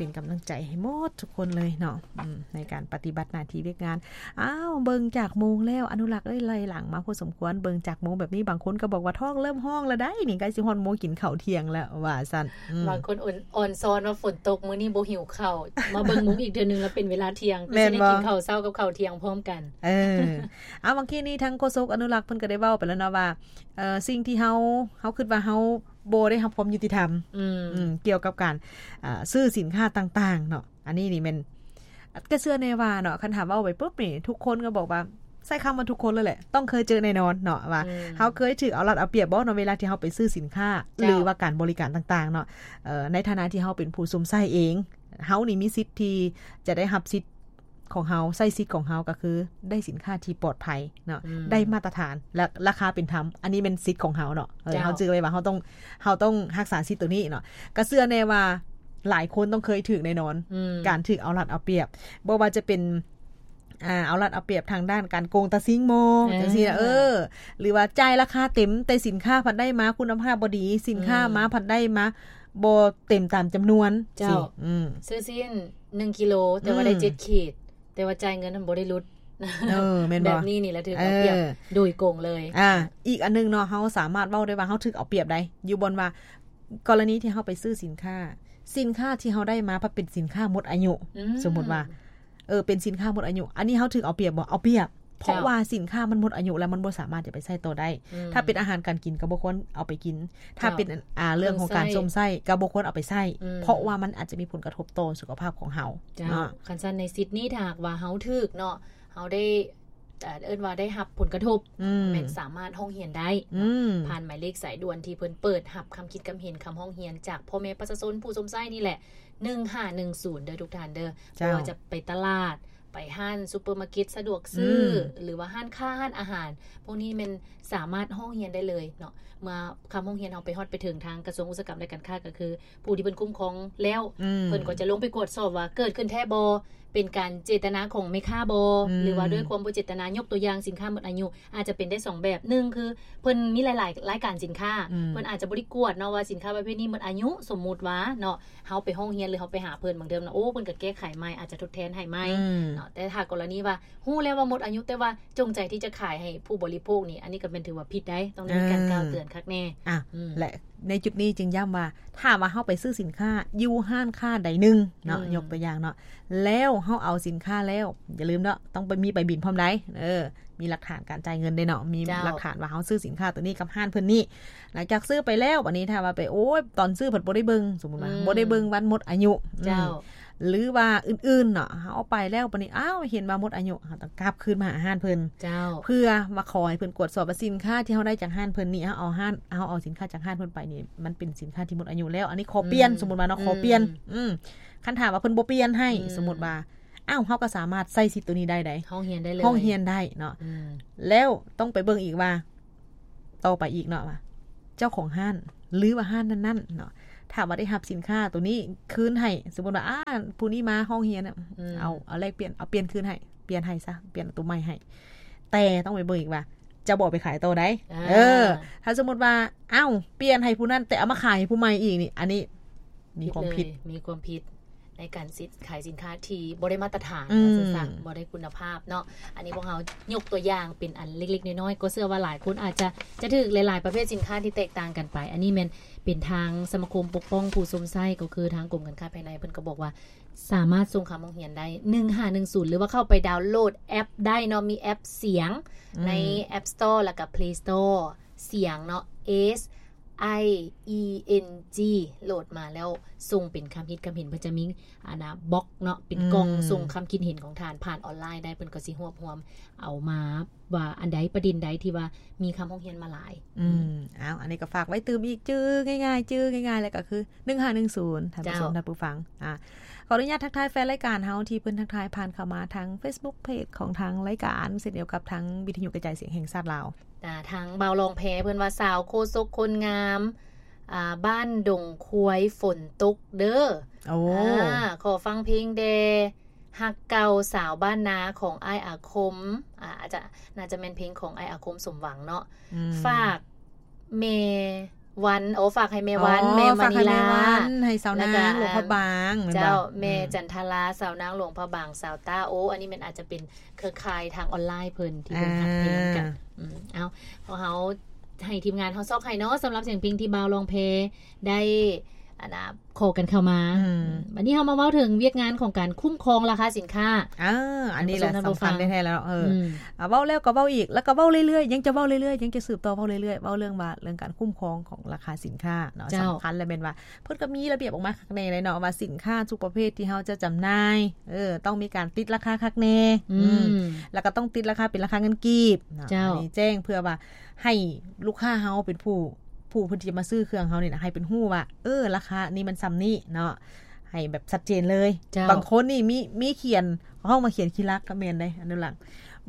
ປັນກຳລັງໃຈໃຫ້ໝົດທຸກຄົນເລີຍເນາະ ອືມ ໃນການປະຕິບັດໜ້າທີ່ວຽກງານ. ອ້າວ ເບິ່ງຈາກໂມງແລ້ວ ອະນຸລັກເອີຍ ໄລ່ຫຼັງມາພໍສົມຄວນ. ເບິ່ງຈາກໂມງແບບນີ້ ບາງຄົນກໍບອກວ່າທ້ອງເລີ່ມຮ້ອງແລ້ວໃດ໋ ນີ້ໃກ້ຊິຮອດໂມງກິນເຂົ້າທ່ຽງແລ້ວ ວ່າຊັ້ນ. ອືມ ບາງຄົນອ່ອນ ອ່ອນຊອນວ່າຝົນຕົກ ມື້ນີ້ບໍ່ຫິວເຂົ້າ ມາເບິ່ງໂມງອີກເທື່ອໜຶ່ງແລ້ວເປັນເວລາທ່ຽງ ແມ່ນບໍ່? ຊິໄດ້ກິນເຂົ້າເຊົ້າກັບເຂົ້າທ່ຽງພ້ອມກັນ. ເອີ ເອົາ ເມື່ອກີ້ນີ້ທາງໂຄສົກອະນຸລັກເພິ່ນກໍໄດ້ເວົ້າໄປແລ້ວເນາະວ່າ ເອີ ສິ່ງທີ່ເຮົາ ເຮົາຄິດວ່າເຮົາບໍ່ໄດ້ຮັບຄວາມຍຸຕິທຳ ອືມ ອືມ ກ່ຽວກັບການ ເອີ ຊື້ສິນຄ້າຕ່າງໆເນາະ. ອັນນີ້ນີ້ແມ່ນ ກໍເຊື່ອແນ່ວ່າເນາະ ຄັນຖ້າເວົ້າໄປປຶບນີ້ ທຸກຄົນກໍບອກວ່າ ໃຊ້ຄຳວ່າທຸກຄົນເລີຍແຫຼະ ຕ້ອງເຄີຍເຈີແນ່ນອນເນາະ ວ່າ ອືມ ເຮົາເຄີຍຖືກເອົາລັດເອົາປຽບບໍ່ເນາະ ເວລາທີ່ເຮົາໄປຊື້ສິນຄ້າ ເຈົ້າ ຫຼືວ່າການບໍລິການຕ່າງໆເນາະ. ເອີ ໃນຖານະທີ່ເຮົາເປັນຜູ້ຊົມໃຊ້ເອງ ເຮົານີ້ມີສິດທີ່ຈະໄດ້ຮັບສິດຂອງເຮົາ ໃຊ້ສິດຂອງເຮົາ ກໍຄືໄດ້ສິນຄ້າທີ່ປອດໄພເນາະ ອືມ ໄດ້ມາດຕະຖານ ແລະ ລາຄາເປັນທຳ. ອັນນີ້ແມ່ນສິດຂອງເຮົາເນາະ ເອີ ເຈົ້າ ເຮົາຈື່ໄວ້ວ່າເຮົາຕ້ອງ ເຮົາຕ້ອງຮັກສາສິດໂຕນີ້ເນາະ. ກໍເຊື່ອແນ່ວ່າຫຼາຍຄົນຕ້ອງເຄີຍຖືກແນ່ນອນ ອືມ ການຖືກເອົາລັດເອົາປຽບ ບໍ່ວ່າຈະເປັນ ອ່າ ເອົາລັດເອົາປຽບທາງດ້ານການໂກງຕາຊິງບໍ ເອີ ຈັ່ງຊີ້ນະ ເອີ ຫຼືວ່າຈ່າຍລາຄາເຕັມ ແຕ່ສິນຄ້າພັດໄດ້ມາຄຸນນະພາບບໍ່ດີ ສິນຄ້າ ອືມ ມາພັດໄດ້ມາບໍ່ເຕັມຕາມຈຳນວນ ເຈົ້າ ຊີ້ ອືມ ຊື້ຊີ້ນໜຶ່ງກິໂລ ແຕ່ວ່າໄດ້ ອືມ ເຈັດຂີດ ແຕ່ວ່າຈ່າຍເງິນນັ້ນບໍ່ໄດ້ຫຼຸດ ເອີ ແມ່ນບໍ່? ແບບນີ້ນີ້ລະຖືກເອົາປຽບ ເອີ ໂດຍກົງເລີຍ. ອ່າ ອີກອັນໜຶ່ງເນາະ ເຮົາສາມາດເວົ້າໄດ້ວ່າເຮົາຖືກເອົາປຽບໄດ໋ ຢູ່ບ່ອນວ່າ ກໍລະນີທີ່ເຮົາໄປຊື້ສິນຄ້າ ສິນຄ້າທີ່ເຮົາໄດ້ມາພັດເປັນສິນຄ້າໝົດອາຍຸ ອືມ ສົມມຸດວ່າ ເອີ ເປັນສິນຄ້າໝົດອາຍຸ ອັນນີ້ເຮົາຖືກເອົາປຽບບໍ່? ເອົາປຽບ ເຈົ້າ ເພາະວ່າສິນຄ້າມັນໝົດອາຍຸແລ້ວ ມັນບໍ່ສາມາດຈະໄປໃຊ້ຕໍ່ໄດ້. ອືມ ຖ້າເປັນອາຫານການກິນກໍບໍ່ຄວນເອົາໄປກິນ ຖ້າເປັນ ເຈົ້າ ອ່າ ເລື່ອງຂອງການຊົມໃຊ້ກໍບໍ່ຄວນເອົາໄປໃຊ້ ອືມ ເພາະວ່າມັນອາດຈະມີຜົນກະທົບຕໍ່ສຸຂະພາບຂອງເຮົາ. ເຈົ້າ ເນາະ ຄັນຊັ້ນໃນສິດນີ້ ຖ້າຫາກວ່າເຮົາຖືກເນາະ ເຮົາໄດ້ ເອີ້ນວ່າໄດ້ຮັບຜົນກະທົບ ອືມ ແມ່ນສາມາດຮ້ອງຮຽນໄດ້ ອືມ ເນາະ ຜ່ານໝາຍເລກສາຍດ່ວນທີ່ເພິ່ນເປີດຮັບຄຳຄິດຄຳເຫັນ ຄຳຮ້ອງຮຽນຈາກພໍ່ແມ່ປະຊາຊົນຜູ້ຊົມໃຊ້ນີ້ແຫຼະ ໜຶ່ງຫ້າໜຶ່ງສູນ ເດີທຸກທ່ານເດີ. ເຈົ້າ ບໍ່ວ່າຈະໄປຕະຫຼາດ ໄປຮ້ານຊຸບເປີມາເກັດສະດວກຊື້ ອືມ ຫຼືວ່າຮ້ານຄ້າ ຮ້ານອາຫານ ພວກນີ້ແມ່ນສາມາດຮ້ອງຮຽນໄດ້ເລີຍເນາະ. ເມື່ອຄຳຮ້ອງຮຽນເຮົາໄປຮອດໄປເຖິງທາງກະຊວງອຸດສາຫະກຳ ແລະ ການຄ້າ ກໍຄືຜູ້ທີ່ເພິ່ນຄຸ້ມຄອງແລ້ວ ອືມ ເພິ່ນກໍຈະລົງໄປກວດສອບວ່າເກີດຂຶ້ນແທ້ບໍ່ ເປັນການເຈດຕະນາຂອງແມ່ຄ້າບໍ່ ອືມ ຫຼືວ່າດ້ວຍຄວາມບໍ່ເຈດຕະນາ. ຍົກຕົວຢ່າງສິນຄ້າໝົດອາຍຸ ອາດຈະເປັນໄດ້ສອງແບບ ໜຶ່ງຄືເພິ່ນມີຫຼາຍໆລາຍການສິນຄ້າ ອືມ ເພິ່ນອາດຈະບໍ່ໄດ້ກວດເນາະວ່າສິນຄ້າປະເພດນີ້ໝົດອາຍຸ ສົມມຸດວ່າເນາະ ເຮົາໄປຮ້ອງຮຽນ ຫຼື ເຮົາໄປຫາເພິ່ນ ບາງເທື່ອນະ ໂອ້ ເພິ່ນກໍແກ້ໄຂໃໝ່ ອາດຈະທົດແທນໃຫ້ໃໝ່ ອືມ ເນາະ. ແຕ່ຖ້າກໍລະນີວ່າຮູ້ແລ້ວວ່າໝົດອາຍຸ ແຕ່ວ່າຈົງໃຈທີ່ຈະຂາຍໃຫ້ຜູ້ບໍລິໂພກນີ້ ອັນນີ້ກໍແມ່ນຖືວ່າຜິດໄດ໋ ຕ້ອງໄດ້ມີການ ເອີ ກ່າວເຕືອນຄັກແນ່ ອ່ະ ອືມ ແລະ ໃນຈຸດນີ້ຈຶ່ງຢ້ຳວ່າ ຖ້າວ່າເຮົາໄປຊື້ສິນຄ້າຢູ່ຮ້ານຄ້າໃດໜຶ່ງເນາະ ອືມ ຍົກຕົວຢ່າງເນາະ ແລ້ວເຮົາເອົາສິນຄ້າແລ້ວ ຢ່າລືມເນາະ ຕ້ອງໄປມີໃບບິນພ້ອມໃດ໋ ເອີ ມີຫຼັກຖານການຈ່າຍເງິນເດ້ເນາະ ມີ ເຈົ້າ ຫຼັກຖານວ່າເຮົາຊື້ສິນຄ້າຕົວນີ້ກັບຮ້ານເພິ່ນນີ້. ຫຼັງຈາກຊື້ໄປແລ້ວ ບັດນີ້ຖ້າວ່າໄປ ໂອ້ຍ ຕອນຊື້ພັດບໍ່ໄດ້ເບິ່ງ ສົມມຸດວ່າ ອືມ ບໍ່ໄດ້ເບິ່ງວັນໝົດອາຍຸ ເຈົ້າ ອືມ ຫຼືວ່າອື່ນໆເນາະ ເຮົາເອົາໄປແລ້ວ ບັດນີ້ ອ້າວ ເຫັນວ່າໝົດອາຍຸ ເຮົາຕ້ອງກັບຄືນມາຫາຮ້ານເພິ່ນ ເຈົ້າ ເພື່ອມາຂໍໃຫ້ເພິ່ນກວດສອບວ່າສິນຄ້າທີ່ເຮົາໄດ້ຈາກຮ້ານເພິ່ນນີ້ ເຮົາເອົາຮ້ານ ເຮົາເອົາສິນຄ້າຈາກຮ້ານເພິ່ນໄປນີ້ ມັນເປັນສິນຄ້າທີ່ໝົດອາຍຸແລ້ວ ອັນນີ້ຂໍປ່ຽນ ອືມ ສົມມຸດວ່າເນາະ ອືມ ຂໍປ່ຽນ ອືມ ຄັນຖ້າວ່າເພິ່ນບໍ່ປ່ຽນໃຫ້ ອືມ ສົມມຸດວ່າ ອ້າວ ເຮົາກໍສາມາດໃຊ້ສິດໂຕນີ້ໄດ້ໃດ໋ ຮ້ອງຮຽນໄດ້ເລີຍ ຮ້ອງຮຽນໄດ້ເນາະ ອືມ ແລ້ວຕ້ອງໄປເບິ່ງອີກວ່າ ຕໍ່ໄປອີກເນາະ ວ່າເຈົ້າຂອງຮ້ານ ຫຼືວ່າຮ້ານນັ້ນໆເນາະ ຖ້າວ່າໄດ້ຮັບສິນຄ້າໂຕນີ້ຄືນໃຫ້ ສົມມຸດວ່າ ອ່າ ຜູ້ນີ້ມາຮ້ອງຮຽນ ອືມ ເອົາ ເອົາແລກປ່ຽນ ເອົາປ່ຽນຄືນໃຫ້ ປ່ຽນໃຫ້ຊະ ປ່ຽນໂຕໃໝ່ໃຫ້ ແຕ່ຕ້ອງໄປເບິ່ງອີກວ່າ ເຈົ້າບໍ່ເອົາໄປຂາຍຕໍ່ໃດ໋ ອ່າ ເອີ ຖ້າສົມມຸດວ່າ ອ້າວ ປ່ຽນໃຫ້ຜູ້ນັ້ນ ແຕ່ເອົາມາຂາຍໃຫ້ຜູ້ໃໝ່ອີກນີ້ ອັນນີ້ມີຄວາມຜິດ ຜິດເລີຍ ມີຄວາມຜິດໃນການສິນ ຂາຍສິນຄ້າທີ່ບໍ່ໄດ້ມາດຕະຖານ ອືມ ວ່າຊັ້ນຊະ ບໍ່ໄດ້ຄຸນນະພາບເນາະ. ອັນນີ້ພວກເຮົາຍົກຕົວຢ່າງເປັນອັນເລັກໆນ້ອຍໆ ກໍເຊື່ອວ່າຫຼາຍຄົນອາດຈະ ຈະຖືກຫຼາຍໆປະເພດສິນຄ້າທີ່ແຕກຕ່າງກັນໄປ. ອັນນີ້ແມ່ນເປັນທາງສະມາຄົມປົກປ້ອງຜູ້ຊົມໃຊ້ ກໍຄືທາງກົມການຄ້າພາຍໃນ ເພິ່ນກໍບອກວ່າ ສາມາດສົ່ງຄຳຮ້ອງຮຽນໄດ້ ໜຶ່ງຫ້າໜຶ່ງສູນ ຫຼືວ່າເຂົ້າໄປດາວໂຫຼດແອັບໄດ້ເນາະ ມີແອັບສຽງ ອືມ ໃນ App Store ແລ້ວກໍ Play Store ສຽງເນາະ S I E N G ໂຫຼດມາແລ້ວສົ່ງເປັນຄຳຄິດຄຳເຫັນ ເພິ່ນຈະມີອັນນ່າ box ເນາະ ເປັນກ່ອງ ອືມ ສົ່ງຄຳຄິດເຫັນຂອງທ່ານຜ່ານອອນລາຍໄດ້ ເພິ່ນກໍຊິຮວບຮວມເອົາມາ ວ່າອັນໃດ ປະເດັນໃດທີ່ວ່າມີຄຳຮ້ອງຮຽນມາຫຼາຍ ອືມ ອືມ ອ້າວ ອັນນີ້ກໍຝາກໄວ້ຕື່ມອີກ ຈື່ງ່າຍໆ ຈື່ງ່າຍໆ ແລ້ວກໍຄື ໜຶ່ງຫ້າໜຶ່ງສູນ ທ່ານຜູ້ຊົມ ເຈົ້າ ທ່ານຜູ້ຟັງ ອ່າ ຂໍອະນຸຍາດທັກທາຍແຟນລາຍການເຮົາ ທີ່ເພິ່ນທັກທາຍຜ່ານເຂົ້າມາທາງ Facebook Page ຂອງທາງລາຍການ ເຊັ່ນດຽວກັບທາງວິທະຍຸກະຈາຍສຽງແຫ່ງຊາດລາວ. ອ່າ ທາງບ່າວລອງແພ ເພິ່ນວ່າ ສາວໂຄສົກຄົນງາມ ອ່າ ບ້ານດົງຄວາຍ ຝົນຕົກເດີ ໂອ້ ອ່າ ຂໍຟັງເພງແດ່ ຮັກເກົ່າສາວບ້ານນາຂອງອ້າຍອາຄົມ ອ່າ ອາດຈະ ໜ້າຈະແມ່ນເພງຂອງອ້າຍອາຄົມ ສົມຫວັງເນາະ ອືມ ຝາກແມ່ ວັນ ໂອ້ ຝາກໃຫ້ແມ່ວັນ ອໍ ແມ່ມະນີລາ ຝາກໃຫ້ແມ່ວັນ ໃຫ້ສາວນາງ ແລ້ວກໍ ຫຼວງພະບາງ ແມ່ນບໍ່? ເຈົ້າ ອືມ ແມ່ຈັນທະລາ ສາວນາງຫຼວງພະບາງ ສາວຕ້າ ໂອ້ ອັນນີ້ແມ່ນອາດຈະເປັນເຄືອຂ່າຍທາງອອນລາຍເພິ່ນ ທີ່ເພິ່ນ ອ່າ ຮັບເພງກັນ ອືມ ເອົາ ພວກເຮົາໃຫ້ທີມງານເຮົາຊອກໃຫ້ເນາະ ສຳລັບສຽງເພງທີ່ບ່າວລອງແພໄດ້ ອັນນ່າ ຂໍກັນເຂົ້າມາ ອືມ ບັດນີ້ເຮົາມາເວົ້າເຖິງວຽກງານຂອງການຄຸ້ມຄອງລາຄາສິນຄ້າ ເອີ ອັນນີ້ແຫຼະ ສຳຄັນແທ້ໆແລ້ວ ເອີ ອືມ ອ່າ ເວົ້າແລ້ວກໍເວົ້າອີກ ແລ້ວກໍເວົ້າເລື້ອຍໆ ຍັງຈະເວົ້າເລື້ອຍໆ ຍັງຈະສືບຕໍ່ເວົ້າເລື້ອຍໆ ເວົ້າເລື່ອງວ່າ ເລື່ອງການຄຸ້ມຄອງຂອງລາຄາສິນຄ້າເນາະ ເຈົ້າ ສຳຄັນ ແລະ ແມ່ນວ່າເພິ່ນກໍມີລະບຽບອອກມາຄັກແນ່ເລີຍເນາະ ວ່າສິນຄ້າທຸກປະເພດທີ່ເຮົາຈະຈຳໜ່າຍ ເອີ ຕ້ອງມີການຕິດລາຄາຄັກແນ່ ອືມ ອືມ ແລ້ວກໍຕ້ອງຕິດລາຄາເປັນລາຄາເງິນກີບເນາະ ເຈົ້າ ອັນນີ້ແຈ້ງເພື່ອວ່າ ໃຫ້ລູກຄ້າເຮົາເປັນຜູ້ ຜູ້ເພິ່ນທີ່ຈະມາຊື້ເຄື່ອງເຮົານີ້ນະ ໃຫ້ເພິ່ນຮູ້ວ່າ ເອີ ລາຄານີ້ມັນສ່ຳນີ້ເນາະ ໃຫ້ແບບຊັດເຈນເລີຍ ເຈົ້າ ບາງຄົນນີ້ມີ ມີຂຽນ ເຮົາມາຂຽນຂີ້ລັກກໍແມ່ນເດ້ ອະນຸລັກ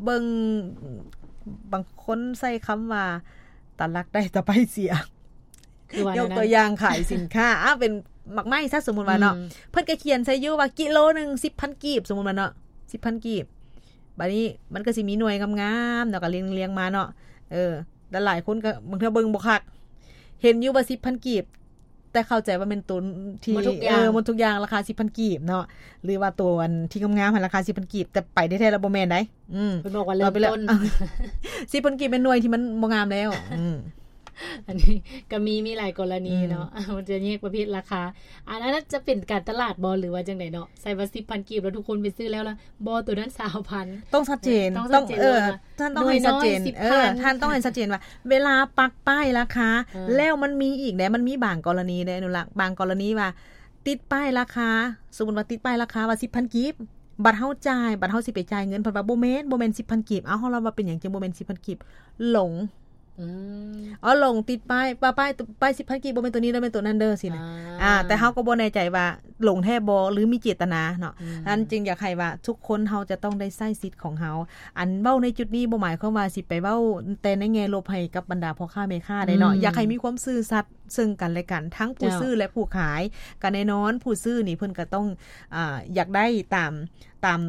ເບິ່ງ ບາງຄົນໃຊ້ຄຳວ່າ ຕາລັກໄດ້ຕາໄປເສຍ ຄືວ່າ ຍົກຕົວຢ່າງຂາຍສິນຄ້າ ອ່າ ເປັນໝາກໄມ້ຊະ ສົມມຸດວ່າເນາະ ອືມ ເພິ່ນກໍຂຽນໃສ່ຢູ່ວ່າກິໂລໜຶ່ງສິບພັນກີບ ສົມມຸດວ່າເນາະ ສິບພັນກີບ ບາດນີ້ມັນກໍຊິມີໜ່ວຍງາມໆເນາະ ກໍລຽງໆມາເນາະ ເອີ ແລະຫຼາຍຄົນກໍບາງເທື່ອເບິ່ງບໍ່ຄັກ ເຫັນຢູ່ວ່າສິບພັນກີບ ແຕ່ເຂົ້າໃຈວ່າແມ່ນໂຕທີ່ ໝົດທຸກຢ່າງ ເອີ ໝົດທຸກຢ່າງລາຄາສິບພັນກີບເນາະ ຫຼືວ່າໂຕອັນທີ່ງາມໆຫັ້ນລາຄາສິບພັນກີບ ແຕ່ໄປແທ້ໆແລ້ວບໍ່ແມ່ນໃດ໋ ອືມ ເພິ່ນບອກວ່າເລີ່ມຕົ້ນ ສິບພັນກີບແມ່ນໜ່ວຍທີ່ມັນບໍ່ງາມແລ້ວ ອືມ ອັນນີ້ກໍມີ ມີຫຼາຍກໍລະນີເນາະ ອືມ ມັນຈະແຍກປະເພດລາຄາ ອັນນັ້ນຈະເປັນການຕະຫຼາດບໍ່ ຫຼືວ່າຈັ່ງໃດເນາະ ໃສ່ວ່າສິບພັນກີບ ແລ້ວທຸກຄົນໄປຊື້ແລ້ວລະ ບໍ່ ໂຕນັ້ນຊາວພັນ ຕ້ອງຊັດເຈນ ຕ້ອງຊັດເຈນ ເອີ ວ່າ ທ່ານຕ້ອງໃຫ້ຊັດເຈນ ໜ່ວຍນ້ອຍສິບພັນ ເອີ ທ່ານຕ້ອງໃຫ້ຊັດເຈນວ່າ ເວລາປັກປ້າຍລາຄາ ເອີ ແລ້ວມັນມີອີກເດ້ ມັນມີບາງກໍລະນີເດ້ ອະນຸລັກ ບາງກໍລະນີວ່າ ຕິດປ້າຍລາຄາ ສົມມຸດວ່າຕິດປ້າຍລາຄາວ່າສິບພັນກີບ ບັດເຮົາຈ່າຍ ບັດເຮົາຊິໄປຈ່າຍເງິນ ເພິ່ນວ່າບໍ່ແມ່ນ ບໍ່ແມ່ນສິບພັນກີບ ເອົ້າ ເຮົາລະວ່າເປັນຫຍັງຈຶ່ງບໍ່ແມ່ນສິບພັນກີບ ຫຼົງ ອືມ ເອົາ ຫຼົງ ຕິດປ້າຍ ວ່າປ້າຍ ປ້າຍສິບພັນກີບ ບໍ່ແມ່ນໂຕນີ້ເດີ ແມ່ນໂຕນັ້ນເດີ ຊີ້ນະ ອ່າ ອ່າ ແຕ່ເຮົາກໍບໍ່ແນ່ໃຈວ່າຫຼົງແທ້ບໍ່ ຫຼືມີເຈດຕະນາເນາະ ອືມ ນັ້ນຈຶ່ງຢາກໃຫ້ວ່າທຸກຄົນເຮົາຈະຕ້ອງໄດ້ໃຊ້ສິດຂອງເຮົາ ອັນເວົ້າໃນຈຸດນີ້ບໍ່ໝາຍຄວາມວ່າຊິໄປເວົ້າແຕ່ໃນແງ່ລົບໃຫ້ກັບບັນດາພໍ່ຄ້າແມ່ຄ້າໃດເນາະ ອືມ ຢາກໃຫ້ມີຄວາມຊື່ສັດ ເຊິ່ງກັນແລະກັນ ທັງຜູ້ ເຈົ້າ ຊື້ ແລະ ຜູ້ຂາຍ ກໍແນ່ນອນ ຜູ້ຊື້ນີ້ເພິ່ນກໍຕ້ອງ ອາ ຢາກໄດ້ຕາມ ຕາມ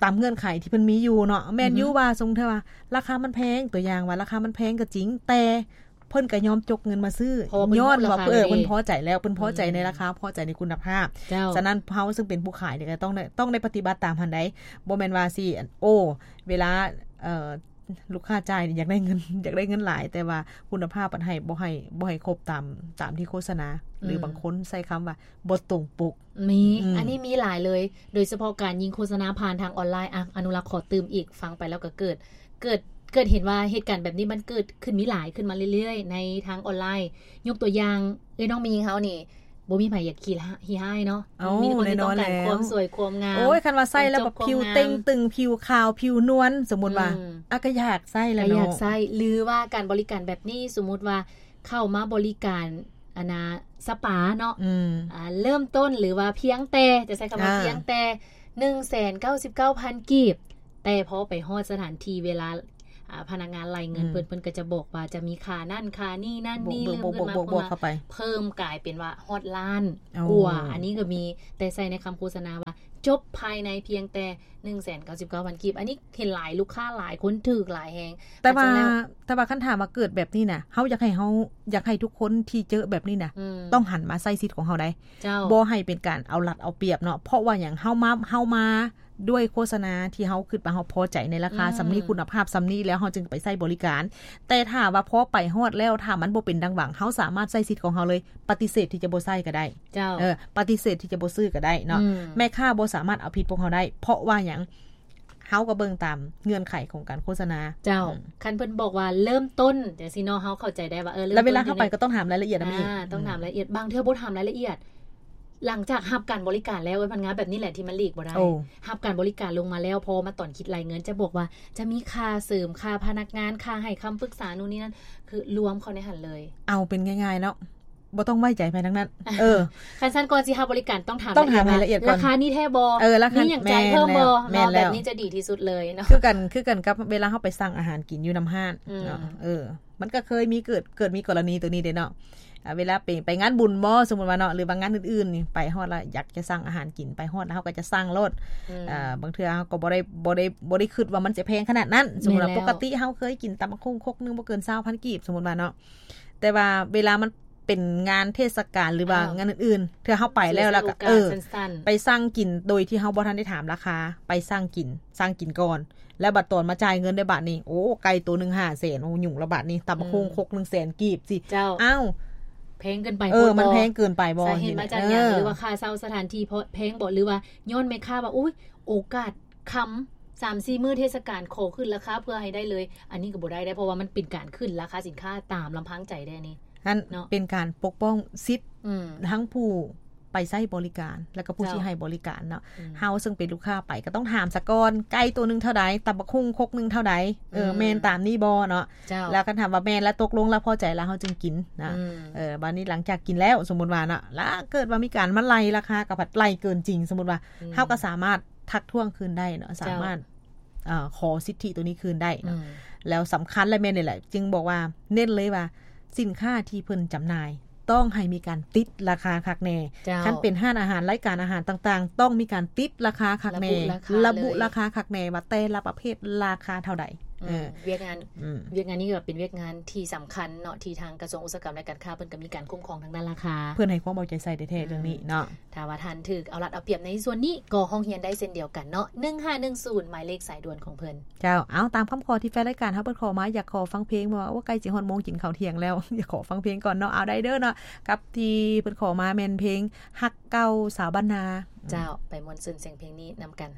ຕາມເງື່ອນໄຂທີ່ເພິ່ນມີຢູ່ເນາະ ແມ່ນຢູ່ ອືຮຶ ວ່າສົມມຸດວ່າລາຄາມັນແພງ ຕົວຢ່າງວ່າລາຄາມັນແພງກໍຈິງ ແຕ່ເພິ່ນກໍຍອມຈົກເງິນມາຊື້ ເພາະວ່າເພິ່ນ ຍ້ອນວ່າ ຮູ້ລາຄາ ເອີ ເພິ່ນພໍໃຈແລ້ວ ເພິ່ນພໍໃຈ ອືມ ໃນລາຄາ ພໍໃຈໃນຄຸນນະພາບ ເຈົ້າ ສະນັ້ນເຮົາເຊິ່ງເປັນຜູ້ຂາຍນີ້ກໍຕ້ອງໄດ້ ຕ້ອງໄດ້ປະຕິບັດຕາມຫັ້ນໃດ໋ ບໍ່ແມ່ນວ່າຊິ ໂອ້ ເວລາ ເອີ ລູກຄ້າຈ່າຍນີ້ຢາກໄດ້ເງິນ ຢາກໄດ້ເງິນຫຼາຍ ແຕ່ວ່າຄຸນນະພາບມັນໃຫ້ ບໍ່ໃຫ້ ບໍ່ໃຫ້ຄົບຕາມ ຕາມທີ່ໂຄສະນາ ອືມ ຫຼືບາງຄົນໃຊ້ຄຳວ່າບໍ່ຕົງປົກ ມີ ອືມ ອັນນີ້ມີຫຼາຍເລີຍ ໂດຍສະເພາະການຍິງໂຄສະນາຜ່ານທາງອອນລາຍ ອະ ອະນຸລັກຂໍຕື່ມອີກ ຟັງໄປແລ້ວກໍເກີດ ເກີດ ເກີດເຫັນວ່າເຫດການແບບນີ້ມັນເກີດຂຶ້ນມີຫຼາຍຂຶ້ນມາເລື້ອຍໆ ໃນທາງອອນລາຍ ຍົກຕົວຢ່າງ ເອື້ອຍນ້ອງມີຍິງເຮົານີ້ ບໍ່ມີໃຜຢາກຂີ້ຮ້າຍ ຂີ້ຮ້າຍເນາະ ເອົ້າ ມີແຕ່ຄົນທີ່ຕ້ອງການ ແນ່ນອນແລ້ວ ຄວາມສວຍຄວາມງາມ ໂອ້ຍ ຄັນວ່າໃສ່ແລ້ວແບບຜິວເຕ່ງຕຶງ ຜິວຂາວ ຜິວນວນ ສົມມຸດວ່າ ອືມ ອາ ກໍຢາກໃສ່ແຫຼະເນາະ ກໍຢາກໃສ່ ຫຼືວ່າການບໍລິການແບບນີ້ ສົມມຸດວ່າເຂົ້າມາບໍລິການ ອັນນ່າ ສະປາເນາະ ອືມ ອ່າ ເລີ່ມຕົ້ນ ຫຼືວ່າພຽງແຕ່ ຈະໃຊ້ຄຳວ່າ ອ່າ ພຽງແຕ່ໜຶ່ງແສນເກົ້າສິບເກົ້າພັນກີບ ແຕ່ພໍໄປຮອດສະຖານທີ່ ເວລາ ອ່າ ພະນັກງານໄລ່ເງິນ ອືມ ເພິ່ນ ເພິ່ນກໍຈະບອກວ່າຈະມີຄ່ານັ້ນຄ່ານີ້ນັ້ນນີ້ ບວກ ເພີ່ມເງິນມາ ບວກ ບວກ ບວກເຂົ້າໄປ ເພີ່ມກາຍເປັນວ່າຮອດລ້ານ ໂອ້ ກວ່າ ອັນນີ້ກໍມີ ແຕ່ໃສ່ໃນຄຳໂຄສະນາວ່າຈົບພາຍໃນພຽງແຕ່ໜຶ່ງແສນເກົ້າສິບເກົ້າພັນກີບ ອັນນີ້ເຫັນຫຼາຍ ລູກຄ້າຫຼາຍຄົນຖືກຫຼາຍແຮງ ແຕ່ວ່າ ແຕ່ວ່າຄັນຖາມວ່າເກີດແບບນີ້ນະ ເຮົາຢາກໃຫ້ ເຮົາຢາກໃຫ້ທຸກຄົນທີ່ເຈີແບບນີ້ນະ ອືມ ຕ້ອງຫັນມາໃຊ້ສິດຂອງເຮົາໄດ໋ ເຈົ້າ ບໍ່ໃຫ້ເປັນການເອົາລັດເອົາປຽບເນາະ ເພາະວ່າຫຍັງ ເຮົາມາ ເຮົາມາ ດ້ວຍໂຄສະນາທີ່ເຮົາຄິດວ່າເຮົາພໍໃຈໃນລາຄາ ອືມ ສ່ຳນີ້ ຄຸນນະພາບສ່ຳນີ້ ແລ້ວເຮົາຈຶ່ງໄປໃຊ້ບໍລິການ ແຕ່ຖ້າວ່າພໍໄປຮອດແລ້ວ ຖ້າມັນບໍ່ເປັນດັ່ງຫວັງ ເຮົາສາມາດໃຊ້ສິດຂອງເຮົາເລີຍ ປະຕິເສດທີ່ຈະບໍ່ໃຊ້ກໍໄດ້ ເຈົ້າ ເອີ ປະຕິເສດທີ່ຈະບໍ່ຊື້ກໍໄດ້ເນາະ ອືມ ແມ່ຄ້າບໍ່ສາມາດເອົາຜິດພວກເຮົາໄດ້ ເພາະວ່າຫຍັງ ເຮົາກໍເບິ່ງຕາມເງື່ອນໄຂຂອງການໂຄສະນາ ເຈົ້າ ອືມ ຄັນເພິ່ນບອກວ່າເລີ່ມຕົ້ນຈັ່ງຊີ້ເນາະ ເຮົາເຂົ້າໃຈໄດ້ວ່າ ເອີ ເລີ່ມຕົ້ນ ແລ້ວເວລາເຮົາໄປກໍຕ້ອງຖາມລາຍລະອຽດນຳອີກ ອ່າ ຕ້ອງຖາມລາຍລະອຽດ ອືມ ບາງເທື່ອບໍ່ຖາມລາຍລະອຽດ ຫຼັງຈາກຮັບການບໍລິການແລ້ວ ເອີ ພະນັກງານແບບນີ້ແຫຼະທີ່ມັນຫຼີກບໍ່ໄດ້ ໂອ້ ຮັບການບໍລິການລົງມາແລ້ວ ພໍມາຕອນຄິດໄລ່ເງິນ ຈະບອກວ່າຈະມີຄ່າເສີມ ຄ່າພະນັກງານ ຄ່າໃຫ້ຄຳປຶກສາ ໂນ່ນນີ້ນັ້ນ ຄືລວມເຂົ້າໃນຫັ້ນເລີຍ ເອົາເປັນງ່າຍໆເນາະ ບໍ່ຕ້ອງໄວ້ໃຈໃຜທັງນັ້ນ ເອີ ຄັນຊັ້ນກ່ອນຊິຮັບບໍລິການຕ້ອງຖາມ ຕ້ອງຖາມລາຍລະອຽດ ລາຍລະອຽດກ່ອນ ລາຄານີ້ແທ້ບໍ່ ເອີ ລາຄາ ມີຫຍັງຈ່າຍເພີ່ມບໍ່ ແມ່ນແລ້ວ ເນາະ ແມ່ນແລ້ວ ແບບນີ້ຈະດີທີ່ສຸດເລີຍເນາະ ຄືກັນ ຄືກັນກັບເວລາເຮົາໄປສັ່ງອາຫານກິນຢູ່ນຳຮ້ານ ອືມ ເນາະ ເອີ ມັນກໍເຄີຍມີເກີດ ເກີດມີກໍລະນີໂຕນີ້ເດ້ເນາະ ອ່າ ເວລາໄປ ໄປງານບຸນບໍ ສົມມຸດວ່າເນາະ ຫຼືວ່າງານອື່ນໆນີ້ ໄປຮອດແລ້ວຢາກຈະສັ່ງອາຫານກິນ ໄປຮອດແລ້ວເຮົາກໍຈະສັ່ງໂລດ ອືມ ອ່າ ບາງເທື່ອເຮົາກໍບໍ່ໄດ້ ບໍ່ໄດ້ ບໍ່ໄດ້ຄິດວ່າມັນຈະແພງຂະໜາດນັ້ນ ສົມມຸດວ່າ ແມ່ນແລ້ວ ປົກກະຕິເຮົາເຄີຍກິນຕຳບັກຫຸ່ງຄົກໜຶ່ງບໍ່ເກີນຊາວພັນກີບ ສົມມຸດວ່າເນາະ ແຕ່ວ່າເວລາມັນ ເປັນງານເທດສະການ ຫຼືວ່າ ອ້າວ ງານອື່ນໆ ເທື່ອເຮົາໄປແລ້ວ ແລ້ວກໍ ເອີ ໄປສັ່ງກິນໂດຍທີ່ເຮົາບໍ່ທັນໄດ້ຖາມລາຄາ ໄປສັ່ງກິນ ສັ່ງກິນກ່ອນ ແລ້ວບັດຕອນມາຈ່າຍເງິນໄດ້ບາດນີ້ ໂອ້ ໄກ່ໂຕໜຶ່ງຫ້າແສນ ໂອ້ ຫຍຸ້ງລະບາດນີ້ ຕຳບັກຫຸ່ງ ອືມ ຄົກໜຶ່ງແສນກີບຊິ ເຈົ້າ ອ້າວ ແພງເກີນໄປ ເອີ ບໍ່ ມັນແພງເກີນໄປບໍ່ ສາເຫດມາຈາກຫຍັງ ເອີ ຫຼືວ່າຄ່າເຊົ່າສະຖານທີ່ເພາະແພງບໍ່ ຫຼືວ່າຍ້ອນແມ່ຄ້າວ່າ ໂອ້ຍ ໂອກາດຄຳ ສາມສີ່ມື້ເທດສະການ ຂໍຂຶ້ນລາຄາເພື່ອໃຫ້ໄດ້ເລີຍ ອັນນີ້ກໍບໍ່ໄດ້ເດ້ ເພາະວ່າມັນເປັນການຂຶ້ນລາຄາສິນຄ້າຕາມລຳພັງໃຈເດ້ນີ້ ຫັ້ນ ເນາະ ເປັນການປົກປ້ອງສິດ ອືມ ທັງຜູ້ໄປໃຊ້ບໍລິການ ແລ້ວກໍຜູ້ ເຈົ້າ ທີ່ໃຫ້ບໍລິການເນາະ ອືມ ເຮົາເຊິ່ງເປັນລູກຄ້າໄປກໍຕ້ອງຖາມສາກ່ອນ ໄກ່ໂຕໜຶ່ງເທົ່າໃດ ຕຳບັກຫຸ່ງຄົກໜຶ່ງເທົ່າໃດ ເອີ ອືມ ແມ່ນຕາມນີ້ບໍ່ເນາະ ເຈົ້າ ແລ້ວຄັນຖາມວ່າແມ່ນແລ້ວ ຕົກລົງແລ້ວ ພໍໃຈແລ້ວ ເຮົາຈຶ່ງກິນນະ ອືມ ເອີ ບາດນີ້ຫຼັງຈາກກິນແລ້ວ ສົມມຸດວ່າເນາະ ແລ້ວເກີດວ່າມີການມາໄລ່ລາຄາ ກໍພັດໄລ່ເກີນຈິງ ສົມມຸດວ່າ ອືມ ເຮົາກໍສາມາດທັກທ້ວງຄືນໄດ້ເນາະ ເຈົ້າ ສາມາດ ເອີ ຂໍສິດທິໂຕນີ້ຄືນໄດ້ເນາະ ອືມ ແລ້ວສຳຄັນ ແລະ ແມ່ນນີ້ແຫຼະ ຈຶ່ງບອກວ່າ ເນັ້ນເລີຍວ່າ ສິນຄ້າທີ່ເພິ່ນຈຳໜ່າຍ ຕ້ອງໃຫ້ມີການຕິດລາຄາຄັກແນ່ ເຈົ້າ ຄັນເປັນຮ້ານອາຫານ ລາຍການອາຫານຕ່າງໆ ຕ້ອງມີການຕິດລາຄາຄັກແນ່ ລະບຸລາຄາ ລະບຸລາຄາຄັກແນ່ວ່າແຕ່ລະປະເພດລາຄາເທົ່າໃດ ອືມ ເອີ ວຽກງານ ອືມ ວຽກງານນີ້ກໍເປັນວຽກງານທີ່ສຳຄັນເນາະ ທີ່ທາງກະຊວງອຸດສາຫະກຳ ແລະ ການຄ້າ ເພິ່ນກໍມີການຄຸ້ມຄອງທາງດ້ານລາຄາ ເພິ່ນໃຫ້ຄວາມເອົາໃຈໃສ່ແທ້ໆ ອືມ ເລື່ອງນີ້ເນາະ. ຖ້າວ່າທ່ານຖືກເອົາລັດເອົາປຽບໃນສ່ວນນີ້ ກໍຮ້ອງຮຽນໄດ້ເຊັ່ນດຽວກັນເນາະ ໜຶ່ງຫ້າໜຶ່ງສູນ ໝາຍເລກສາຍດ່ວນຂອງເພິ່ນ. ເຈົ້າ ເອົາ ຕາມຄຳຂໍທີ່ແຟນລາຍການເຮົາເພິ່ນຂໍມາ ຢາກຂໍຟັງເພງ ເພາະວ່າ ໂອ້ ໃກ້ຊິຮອດໂມງກິນເຂົ້າທ່ຽງແລ້ວ ຢາກຂໍຟັງເພງກ່ອນເນາະ. ເອົາ ໄດ້ເດີເນາະ ກັບທີ່ເພິ່ນຂໍມາແມ່ນເພງຮັກເກົ່າສາວບ້ານນາ. ເຈົ້າ ໄປມ່ວນຊື່ນສຽງເພງນີ້ນຳກັນ.